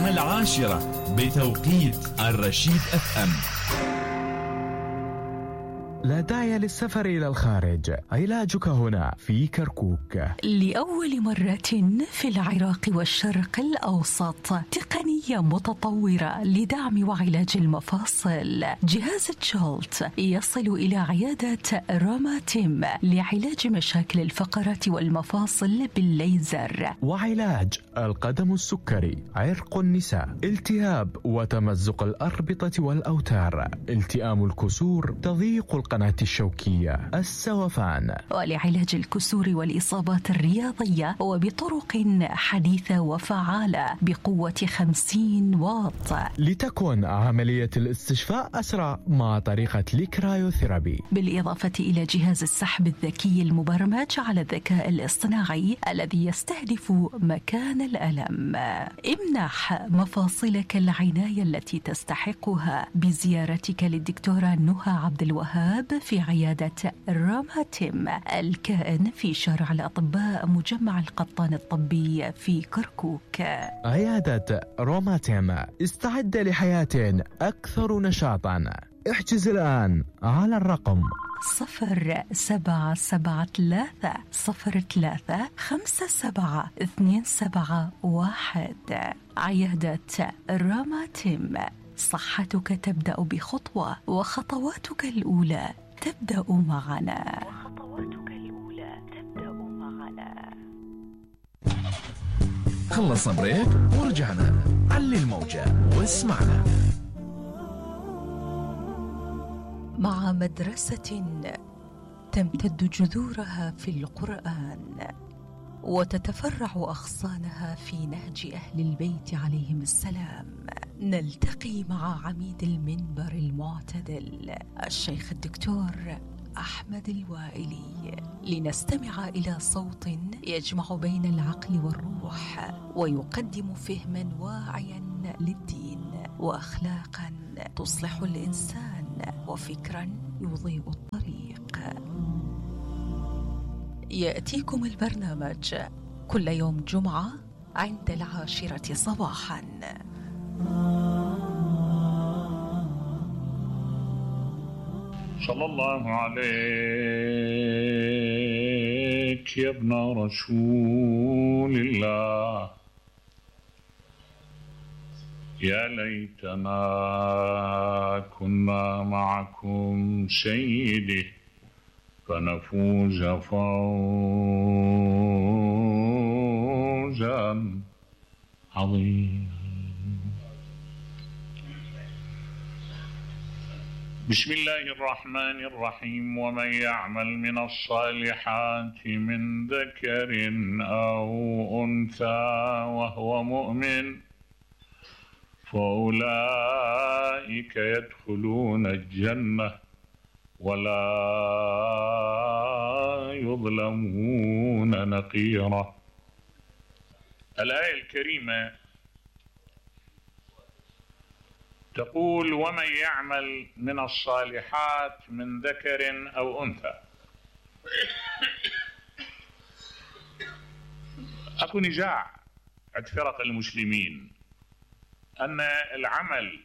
الساعة 10 بتوقيت الرشيد FM. لا داعي للسفر إلى الخارج، علاجك هنا في كركوك. لأول مرة في العراق والشرق الأوسط تقنية متطورة لدعم وعلاج المفاصل. جهاز تشولت يصل إلى عيادة روماتيم لعلاج مشاكل الفقرات والمفاصل بالليزر، وعلاج القدم السكري، عرق النساء، التهاب وتمزق الأربطة والأوتار، التئام الكسور، تضييق القناة الشوكية، السوفان، ولعلاج الكسور والإصابات الرياضية وبطرق حديثة وفعالة بقوة 50 واط. لتكن عملية الاستشفاء أسرع مع طريقة الكرايوثيرابي، بالإضافة إلى جهاز السحب الذكي المبرمج على الذكاء الاصطناعي الذي يستهدف مكان الألم. امنح مفاصلك العناية التي تستحقها بزيارتك للدكتورة نهى عبد الوهاب في عيادة روماتيم الكائن في شارع الأطباء مجمع القطان الطبي في كركوك. عيادة روماتيم، استعد لحياة أكثر نشاطا. احجز الآن على الرقم 0773-03-57-271. عيادة روماتيم، صحتك تبدأ بخطوة وخطواتك الأولى تبدأ معنا. خلصنا بريك ورجعنا. علي الموجة واسمعنا. مع مدرسة تمتد جذورها في القرآن وتتفرع أغصانها في نهج أهل البيت عليهم السلام، نلتقي مع عميد المنبر المعتدل الشيخ الدكتور أحمد الوائلي لنستمع إلى صوت يجمع بين العقل والروح ويقدم فهما واعيا للدين وأخلاقا تصلح الإنسان وفكرا يضيء الطريق. يأتيكم البرنامج كل يوم جمعة عند 10 صباحا. صلى الله عليك يا ابن رسول الله، يا ليتنا كنا معكم سيدي فنفوز فوزا عظيما. بسم الله الرحمن الرحيم. ومن يعمل من الصالحات من ذكر أو أنثى وهو مؤمن فأولئك يدخلون الجنة ولا يظلمون نقيرا. الآية الكريمة تقول: ومن يعمل من الصالحات من ذكر أو أنثى. أكو نزاع عند فرق المسلمين أن العمل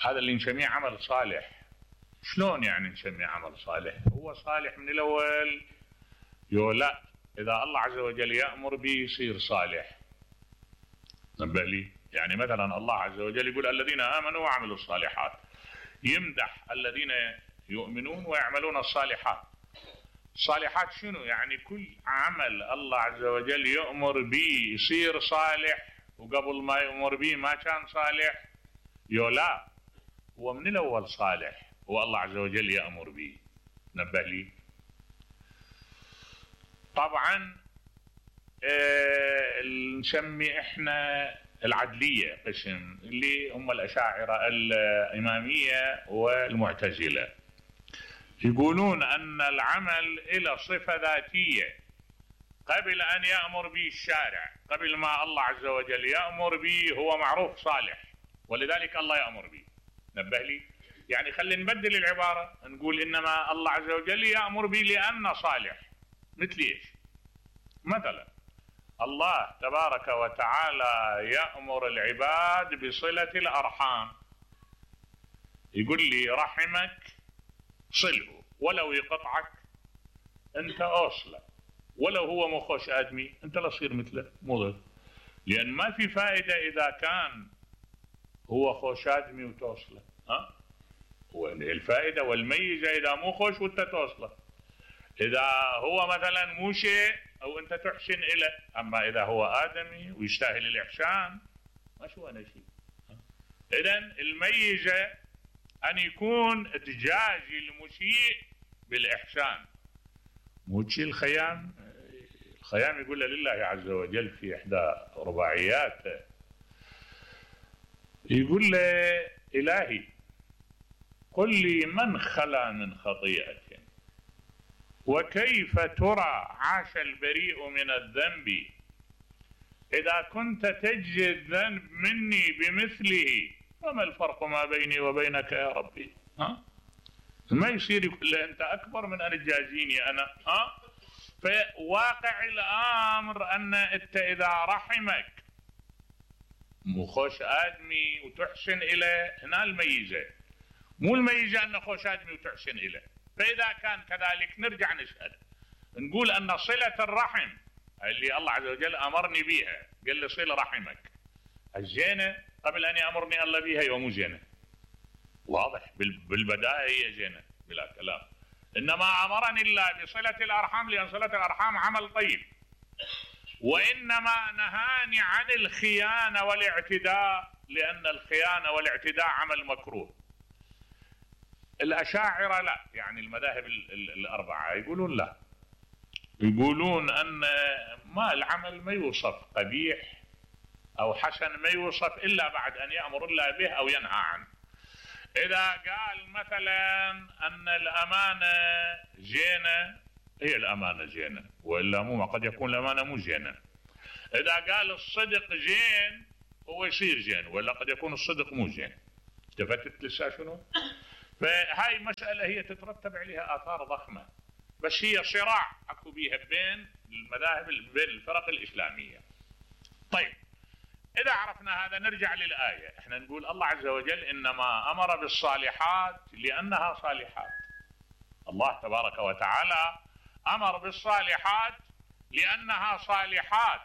هذا اللي نسميه عمل صالح. شلون يعني نسميه عمل صالح؟ هو صالح من الأول؟ لا، إذا الله عز وجل يأمر به يصير صالح. نبه لي، يعني مثلا الله عز وجل يقول الذين آمنوا وعملوا الصالحات، يمدح الذين يؤمنون ويعملون الصالحات. الصالحات شنو؟ يعني كل عمل الله عز وجل يأمر به يصير صالح، وقبل ما يأمر به ما كان صالح. لا، هو من الأول صالح، هو الله عز وجل يأمر به. نبه لي. طبعا نسمي احنا العدلية قسم اللي هم الأشاعرة الإمامية والمعتزلة، يقولون أن العمل إلى صفة ذاتية قبل أن يأمر به الشارع، قبل ما الله عز وجل يأمر به هو معروف صالح، ولذلك الله يأمر به. نبه لي، يعني خلينا نبدل العبارة، نقول إنما الله عز وجل يأمر به لأنه صالح. مثل إيش؟ مثلا الله تبارك وتعالى يأمر العباد بصلة الأرحام، يقول لي رحمك صله، ولو يقطعك أنت أوصله، ولو هو مو خوش آدمي أنت لا تصير مثله، مو ضد، لأن ما في فائدة إذا كان هو خوش آدمي وتوصله، الفائدة والميزة إذا مو خوش وأنت توصله، إذا هو مثلا مو شيء أو أنت تحسن إليه، أما إذا هو آدمي ويستاهل الإحسان ما شو أنا شيء. إذن الميزة أن يكون تجازي المسيء بالإحسان، مو شيء الخيام يقول لله عز وجل في إحدى رباعياته، يقول له إلهي قل لي من خلا من خطيئة، وكيف ترى عاش البريء من الذنب، إذا كنت تجزي الذنب مني بمثله فما الفرق ما بيني وبينك يا ربي؟ ما يصير يقول له أنت أكبر من أن تجازيني أنا. فواقع الأمر أن أنت إذا رحمك مو خوش آدمي وتحسن إليه، هنا الميزة، مو الميزة أن خوش آدمي وتحسن إليه. فإذا كان كذلك نرجع نسأل نقول أن صلة الرحم اللي الله عز وجل أمرني بها، قال لي صل رحمك، الزينة قبل أن يأمرني الله بها يوم مو زينة، واضح بالبداية هي زينة بلا كلام، إنما أمرني الله بصلة الأرحام لأن صلة الأرحام عمل طيب، وإنما نهاني عن الخيانة والاعتداء لأن الخيانة والاعتداء عمل مكروه. الأشاعرة لا، يعني المذاهب الأربعة يقولون لا، يقولون أن ما العمل ما يوصف قبيح أو حسن، ما يوصف إلا بعد أن يأمر الله به أو ينهى عنه. إذا قال مثلا أن الأمانة زينة، هي الأمانة زينة، وإلا مو قد يكون الأمانة مو زينة. إذا قال الصدق زين هو يصير زين، ولا قد يكون الصدق مو زين. التفتت لسه شنو؟ فهاي مسألة هي تترتب عليها آثار ضخمة، بس هي صراع أكو بيها بين المذاهب بين الفرق الإسلامية. طيب إذا عرفنا هذا نرجع للآية، احنا نقول الله عز وجل إنما أمر بالصالحات لأنها صالحات. الله تبارك وتعالى أمر بالصالحات لأنها صالحات،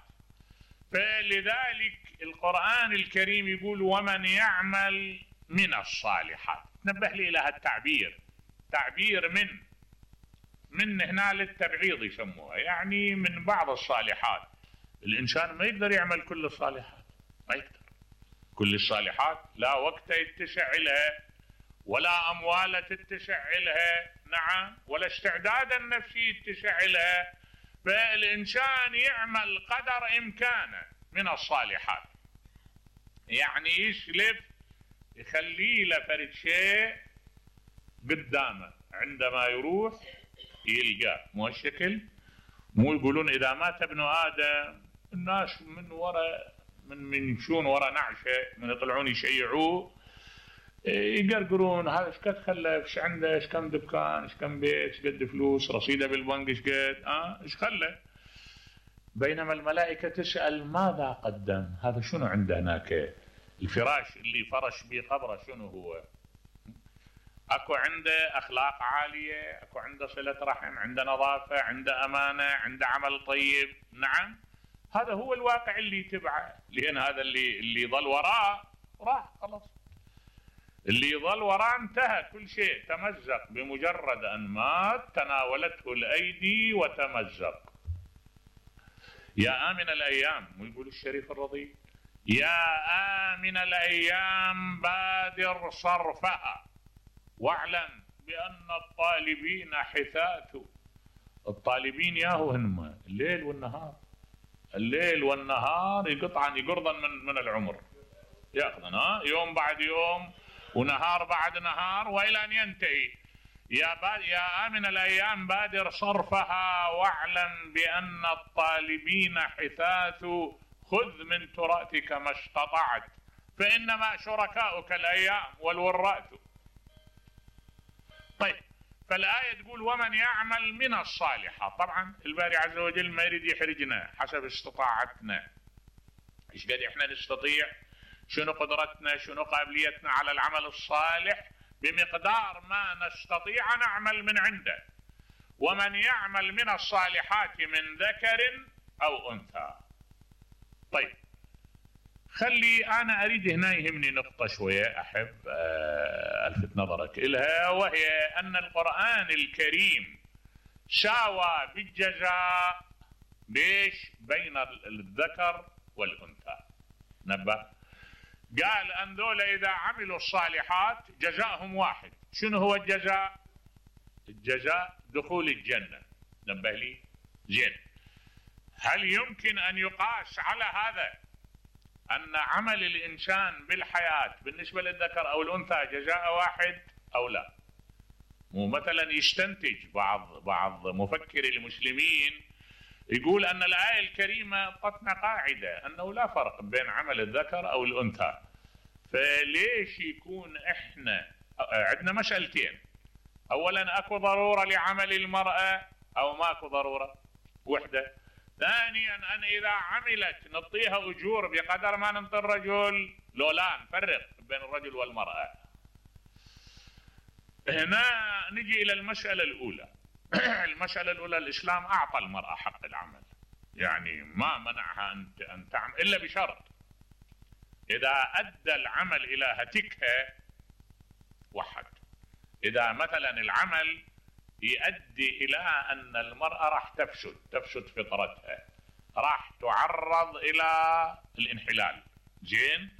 فلذلك القرآن الكريم يقول ومن يعمل من الصالحات. نبه لي إلى التعبير، تعبير من هنا للتبعيض يسموها، يعني من بعض الصالحات. الإنسان ما يقدر يعمل كل الصالحات، ما يقدر كل الصالحات، لا وقت يتسع لها ولا أموال تتسع لها، نعم، ولا استعداد النفسي يتسع لها، فالإنسان يعمل قدر إمكانه من الصالحات، يعني يسلف يخلي له فرد شيء قدامه عندما يروح يلقاه، مو الشكل، مو يقولون إذا مات ابن آدم الناس من وراء من يمشون وراء نعشه، من يطلعون يشيعوه يقرقرون هذا ايش قد خلف، ايش عنده، ايش كم دكان، ايش كم بيت، ايش قد فلوس، رصيده بالبنك ايش قد، ايش خلف. بينما الملائكة تسأل ماذا قدم، هذا شنو عنده هناك، الفراش اللي فرش به قبره شنو هو، اكو عنده اخلاق عالية، اكو عنده صلة رحم، عنده نظافة، عنده امانة، عنده عمل طيب، نعم، هذا هو الواقع اللي يتبعه، لان هذا اللي ظل وراه راح خلاص، اللي ظل وراه انتهى، كل شيء تمزق بمجرد ان مات، تناولته الايدي وتمزق. يا آمن الأيام، ويقول الشريف الرضي يا آمن الأيام بادر صرفها واعلم بأن الطالبين حثاث. الطالبين ياهو هنما الليل والنهار، الليل والنهار يقرضا من العمر، ياخذنا يوم بعد يوم ونهار بعد نهار وإلى أن ينتهي. يا آمن الأيام بادر صرفها واعلم بأن الطالبين حثاث، خذ من تراثك ما استطعت فإنما شركاؤك الأيام والوراث. طيب فالآية تقول ومن يعمل من الصالحات. طبعا الباري عز وجل ما يريد يحرجنا، حسب استطاعتنا ايش قد احنا نستطيع، شنو قدرتنا، شنو قابليتنا على العمل الصالح، بمقدار ما نستطيع نعمل من عنده. ومن يعمل من الصالحات من ذكر أو أنثى. طيب خلي أنا أريد هنا يهمني نقطة شوية أحب ألفت نظرك إلها، وهي أن القرآن الكريم ساوى بالجزاء ليش بين الذكر والأنثى. نبه قال أن ذولا إذا عملوا الصالحات جزاءهم واحد. شنو هو الجزاء؟ الجزاء دخول الجنة. نبه لي زين. هل يمكن أن يقاس على هذا أن عمل الإنسان بالحياة بالنسبة للذكر أو الأنثى جزاء واحد أو لا؟ مو مثلا يستنتج بعض مفكري المسلمين يقول أن الآية الكريمة أعطتنا قاعدة أنه لا فرق بين عمل الذكر أو الأنثى، فليش يكون إحنا عندنا مسألتين؟ أولا أكو ضرورة لعمل المرأة أو ماكو ضرورة؟ وحدة. ثانيا أن إذا عملت نعطيها أجور بقدر ما نعطي الرجل، لو لا نفرق بين الرجل والمرأة. هنا نجي إلى المسألة الأولى. المسألة الأولى الإسلام أعطى المرأة حق العمل، يعني ما منعها أن تعمل إلا بشرط إذا أدى العمل إلى هتكها وحد. إذا مثلا العمل يؤدي إلى أن المرأة راح تفسد فطرتها، راح تعرض إلى الانحلال، زين،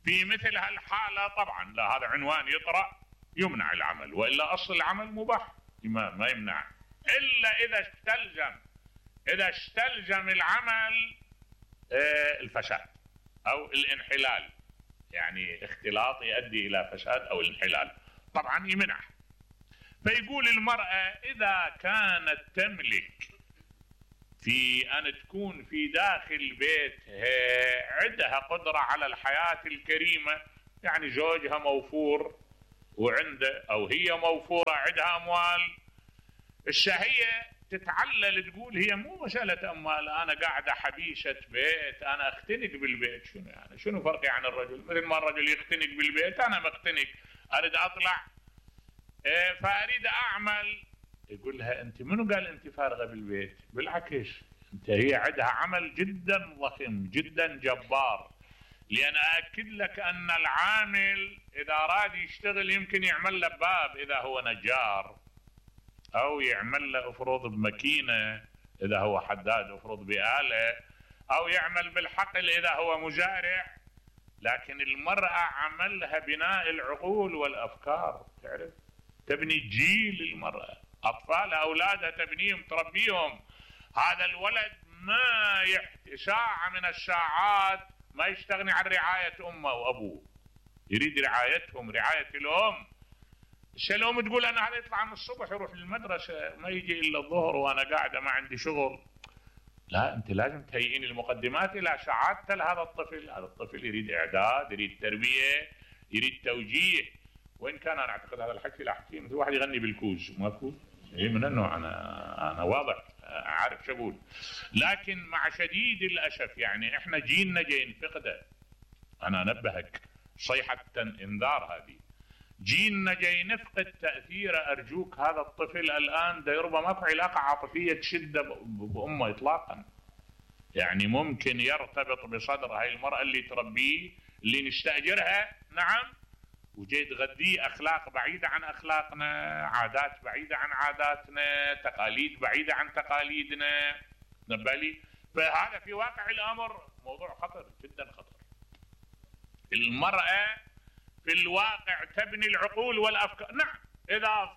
في مثل هالحالة طبعا لا، هذا عنوان يطرأ يمنع العمل، وإلا أصل العمل مباح ما يمنع، إلا إذا استلزم العمل الفساد أو الانحلال، يعني اختلاط يؤدي إلى فساد أو الانحلال، طبعا يمنع. فيقول المرأة إذا كانت تملك في أن تكون في داخل بيتها عندها قدرة على الحياة الكريمة، يعني زوجها موفور وعنده أو هي موفورة عندها أموال، الشهية تتعلل تقول هي مو مسألة أموال، أنا قاعدة حبيشة بيت، أنا أختنق بالبيت. شنو يعني؟ شنو فرقي عن الرجل؟ مثل ما الرجل يختنق بالبيت أنا مختنق، أريد أطلع فأريد أعمل. يقول لها أنت منو قال أنت فارغة بالبيت؟ بالعكس أنت هي عندها عمل جدا ضخم جدا جبار، لأن أأكد لك أن العامل إذا أراد يشتغل يمكن يعمل له باب إذا هو نجار، أو يعمل له أفرض بماكينة إذا هو حداد أفرض بآلة، أو يعمل بالحقل إذا هو مزارع. لكن المرأة عملها بناء العقول والأفكار، تعرف تبني جيل المرأة، أطفالها أولادها تبنيهم تربيهم. هذا الولد ما ساعة من الساعات ما يستغني عن رعاية أمه وأبوه، يريد رعايتهم، رعاية الأم. الأم تقول أنا هذا يطلع من الصبح يروح للمدرسة ما يجي إلا الظهر وأنا قاعدة ما عندي شغل. لا، أنت لازم تهيئين المقدمات إلى سعادة لهذا الطفل. هذا الطفل يريد إعداد، يريد تربية، يريد توجيه. وإن كان أنا أعتقد هذا الحكي لا أحكي مثل واحد يغني بالكوز، ماكو من النوع، أنا واضح عارف شو أقول. لكن مع شديد الأسف يعني إحنا جيلنا جاي نفقده. أنا أنبهك صيحة إنذار هذه، جيلنا جاي نفقد تأثيره. أرجوك هذا الطفل الآن ده يربى ماكو علاقة عاطفية تشده بأمه إطلاقا، يعني ممكن يرتبط بصدر هاي المرأة اللي تربيه اللي نستأجرها، نعم، وجاي تغذيه أخلاق بعيدة عن أخلاقنا، عادات بعيدة عن عاداتنا، تقاليد بعيدة عن تقاليدنا. نبالي فهذا في واقع الأمر موضوع خطر جدا خطر. المرأة في الواقع تبني العقول والأفكار، نعم، إذا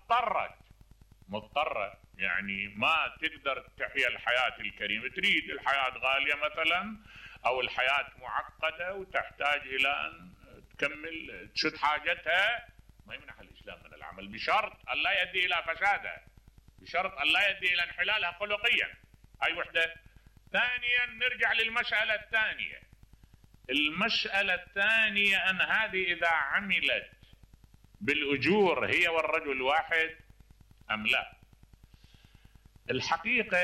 مضطرة يعني ما تقدر تحيا الحياة الكريمة، تريد الحياة غالية مثلا أو الحياة معقدة وتحتاج إلى أن تكمل تشد حاجتها، ما يمنح الإسلام من العمل، بشرط أن لا يؤدي إلى فسادها، بشرط أن لا يؤدي إلى انحلالها خلقيا. هاي وحدة. ثانيا نرجع للمسألة الثانية. المسألة الثانية أن هذه إذا عملت بالأجور هي والرجل واحد، أم لا؟ الحقيقة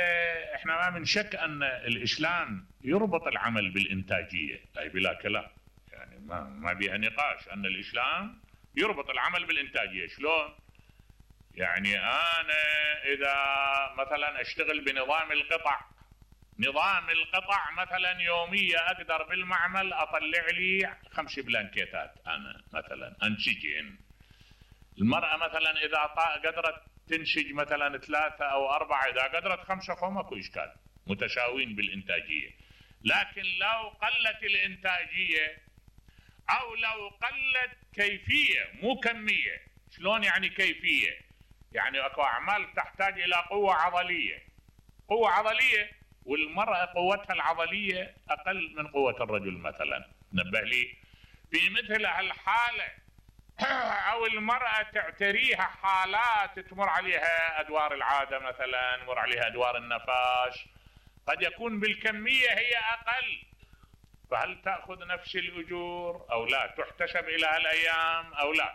احنا ما من شك أن الإسلام يربط العمل بالإنتاجية، أي بلا كلام، يعني ما بيها نقاش أن الإسلام يربط العمل بالإنتاجية. شلون؟ يعني أنا إذا مثلا أشتغل بنظام القطع، نظام القطع مثلا يومية أقدر بالمعمل أطلع لي 5 بلانكيتات، أنا مثلا أنسجهن. المرأة مثلا إذا قدرت تنسج مثلا 3 أو 4، إذا قدرت 5 فما ماكو إشكال، متساوين بالإنتاجية. لكن لو قلت الإنتاجية أو لو قلت كيفية مو كمية. شلون يعني كيفية؟ يعني أكو أعمال تحتاج إلى قوة عضلية، قوة عضلية، والمرأة قوتها العضلية أقل من قوة الرجل مثلا. نبه لي في مثل هالحالة أو المرأة تعتريها حالات تمر عليها أدوار العادة مثلا، مر عليها أدوار النفاس، قد يكون بالكمية هي أقل، فهل تأخذ نفس الأجور أو لا؟ تحتسب إلى هالأيام أو لا؟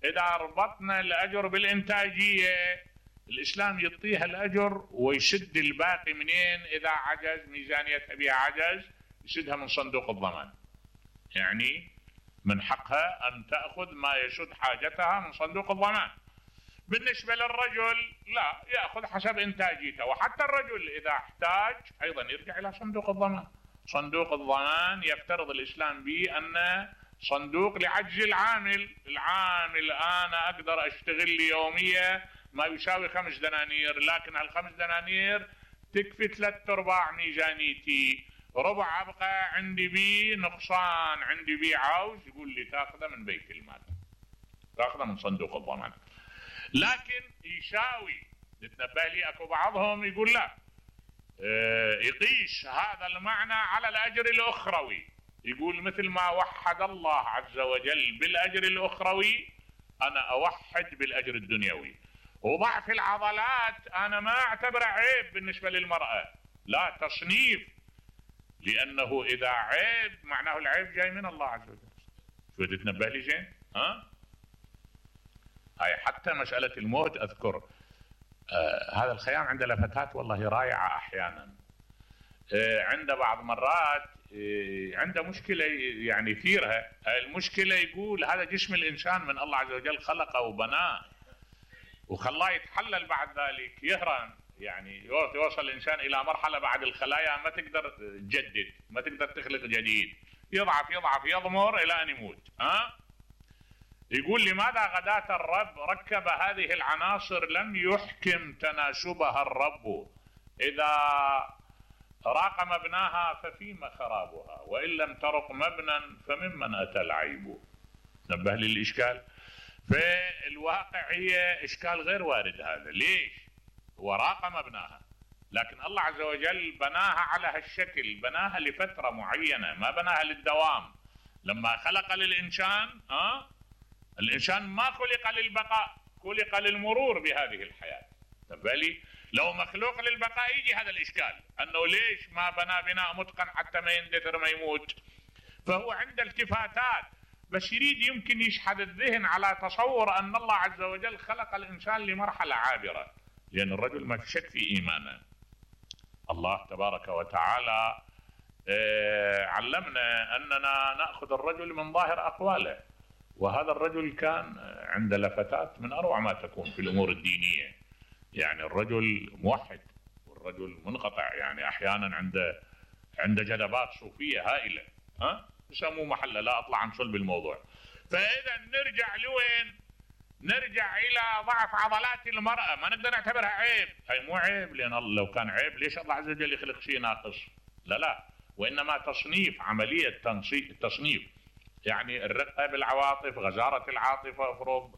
إذا ربطنا الأجر بالإنتاجية الإسلام يعطيها الأجر ويسد الباقي منين؟ إذا عجز ميزانيتها بها عجز يسدها من صندوق الضمان، يعني من حقها أن تأخذ ما يسد حاجتها من صندوق الضمان. بالنسبة للرجل لا، يأخذ حسب إنتاجيته، وحتى الرجل إذا احتاج أيضا يرجع إلى صندوق الضمان. صندوق الضمان يفترض الإسلام به أن صندوق لعجز العامل. العامل أنا أقدر أشتغل لي يومية ما يساوي 5 دنانير، لكن هال5 دنانير تكفي 3/4 ميزانيتي، ربع أبقى عندي بي نقصان، عندي بي عوز، يقول لي تأخذه من بيت المال، تأخذه من صندوق الضمان. لكن يساوي، تتنبه لي أكو بعضهم يقول لا، يقيس هذا المعنى على الأجر الأخروي، يقول مثل ما وحد الله عز وجل بالأجر الأخروي أنا أوحد بالأجر الدنيوي. وضعف العضلات أنا ما أعتبره عيب بالنسبة للمرأة، لا، تصنيف، لأنه إذا عيب معناه العيب جاي من الله عز وجل. شو تتنبه لي زين؟ هاي حتى مسألة الموت أذكر هذا الخيام عند لفتات والله رائعة أحيانا. عنده بعض مرات عنده مشكلة يعني يثيرها، المشكلة يقول هذا جسم الإنسان من الله عز وجل خلقه وبناه وخلاه يتحلل، بعد ذلك يهرم، يعني يوصل الإنسان إلى مرحلة بعد الخلايا ما تقدر تجدد، ما تقدر تخلق جديد، يضعف يضعف يضمر إلى أن يموت. يقول لماذا غداة الرب ركب هذه العناصر لم يحكم تناسبها الرب؟ إذا راق مبناها ففيما خرابها، وإن لم ترق مبنى فممن أتى العيب. نبه لي الإشكال. في الواقع هي إشكال غير وارد هذا. ليش؟ هو راق مبناها، لكن الله عز وجل بناها على هالشكل، بناها لفترة معينة، ما بناها للدوام. لما خلق للإنسان الإنسان ما خلق للبقاء، خلق للمرور بهذه الحياة. بالي لو مخلوق للبقاء يجي هذا الإشكال، أنه ليش ما بنى بناء متقن حتى ما يندثر ما يموت. فهو عنده التفاتات، بس يريد يمكن يشحذ الذهن على تصور أن الله عز وجل خلق الإنسان لمرحلة عابرة، لأن الرجل ما شك في إيمانه. الله تبارك وتعالى علمنا أننا نأخذ الرجل من ظاهر أقواله، وهذا الرجل كان عنده لفتات من أروع ما تكون في الأمور الدينية. يعني الرجل موحد والرجل منقطع، يعني أحيانا عنده جذبات صوفية هائلة، يسموه محله، لا أطلع عن صلب الموضوع. فإذا نرجع لوين؟ نرجع إلى ضعف عضلات المرأة، ما نقدر نعتبرها عيب. هي مو عيب، لأن لو كان عيب ليش الله عز وجل يخلق شيء ناقص؟ لا، وإنما تصنيف، عملية تصنيف، يعني الرقة بالعواطف، غزارة العاطفة، افرض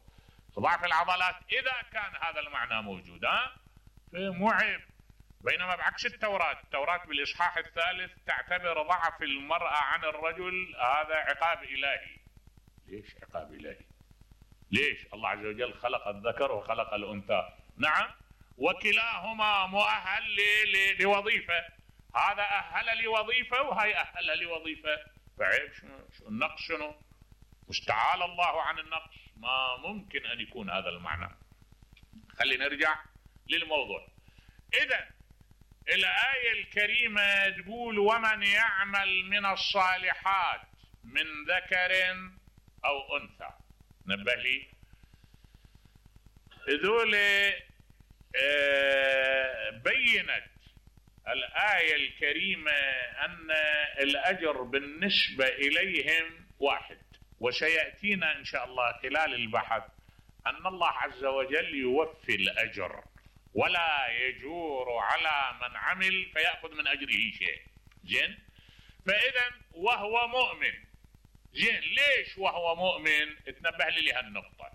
ضعف العضلات، إذا كان هذا المعنى موجود مو عيب. بينما بعكس التوراة بالإصحاح 3 تعتبر ضعف المرأة عن الرجل هذا عقاب إلهي. ليش عقاب إلهي؟ ليش؟ الله عز وجل خلق الذكر وخلق الأنثى، نعم، وكلاهما مؤهل لوظيفة، هذا أهل لوظيفة وهي أهل لوظيفة، فعيب شنو؟ النقص شنو؟ مستعال الله عن النقص، ما ممكن أن يكون هذا المعنى. خلينا نرجع للموضوع. إذن الآية الكريمة تقول ومن يعمل من الصالحات من ذكر أو أنثى. نبه لي ذول بينت الآية الكريمة أن الأجر بالنسبة إليهم واحد، وسيأتينا إن شاء الله خلال البحث أن الله عز وجل يوفي الأجر ولا يجور على من عمل فيأخذ من أجره شيء. زين، فإذا وهو مؤمن. زين، ليش وهو مؤمن؟ اتنبه لي لهالنقطة.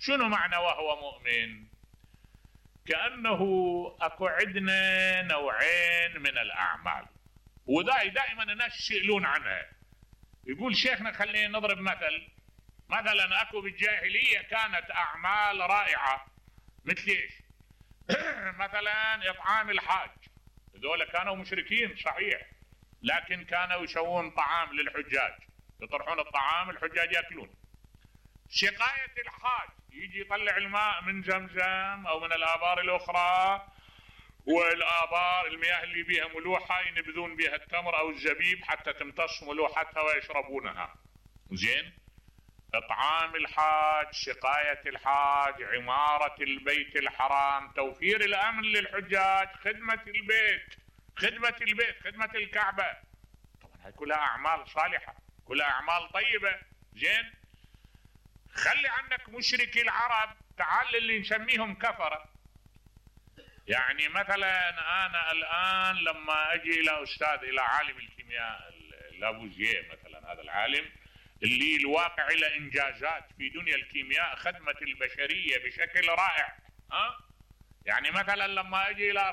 شنو معنى وهو مؤمن؟ كأنه أكو عندنا نوعين من الأعمال، ودائما الناس يسألون عنها. يقول شيخنا خلينا نضرب مثل. مثلا أكو بالجاهلية كانت أعمال رائعة، مثل إيش؟ مثلا إطعام الحاج. هذول كانوا مشركين صحيح، لكن كانوا يسوون طعام للحجاج، يطرحون الطعام الحجاج يأكلون. سقاية الحاج، يجي يطلع الماء من زمزم أو من الآبار الأخرى، والآبار المياه اللي بيها ملوحة ينبذون بها التمر أو الزبيب حتى تمتص ملوحتها ويشربونها. زين، إطعام الحاج، سقاية الحاج، عمارة البيت الحرام، توفير الأمن للحجاج، خدمة البيت، خدمة الكعبة. طبعا هاي كلها أعمال صالحة، كلها أعمال طيبة. زين، خلي عنك مشركي العرب، تعال اللي نسميهم كفرة. يعني مثلا أنا الآن لما أجي إلى أستاذ، إلى عالم الكيمياء لابوزيه مثلا، هذا العالم اللي الواقع له إنجازات في دنيا الكيمياء، خدمة البشرية بشكل رائع. يعني مثلا لما أجي إلى